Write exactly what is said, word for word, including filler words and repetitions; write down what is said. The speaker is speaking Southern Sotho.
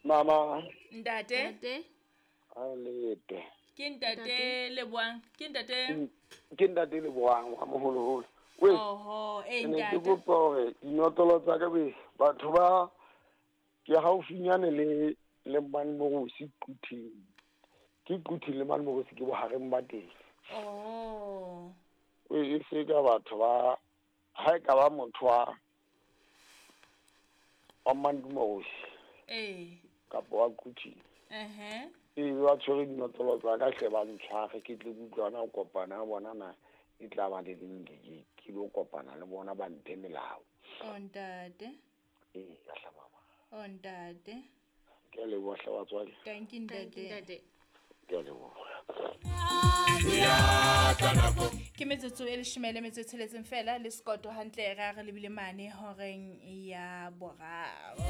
Mama. Ntate. Ntate. A lete. Ke ntate Leboang. Ke ntate. Ke ntate Leboang wa moholoholo. We. Oho, eh Ke ne ke ntate. kopa hore dinotlolo tsa ka be batho ba ke haufinyane le le Manmorosi Quthing. Ke Quthing le Manmorosi ke bohareng ba teng. Oh. We e se ka batho ba ha e ka ba motho wa wa Manmorosi Eh. kapa wa Quthing. Eh. Ee, ba tshwere dinotlolo tsa ka hle ba ntshware ke tle ke utlwana ho kopana ha bona na e tla ba le leng ke ke ke lo kopana le bona ba mphe melao. Oh ntate. Ee, ka hle mama. Oh ntate. Ke a leboha hle batswadi. Thank you Thank you, ntate. ntate. Ke a leboha. Ke metsotso e leshome le metso e tsheletseng fela le sekoto hantle re a re lebile mane horeng ya boraro.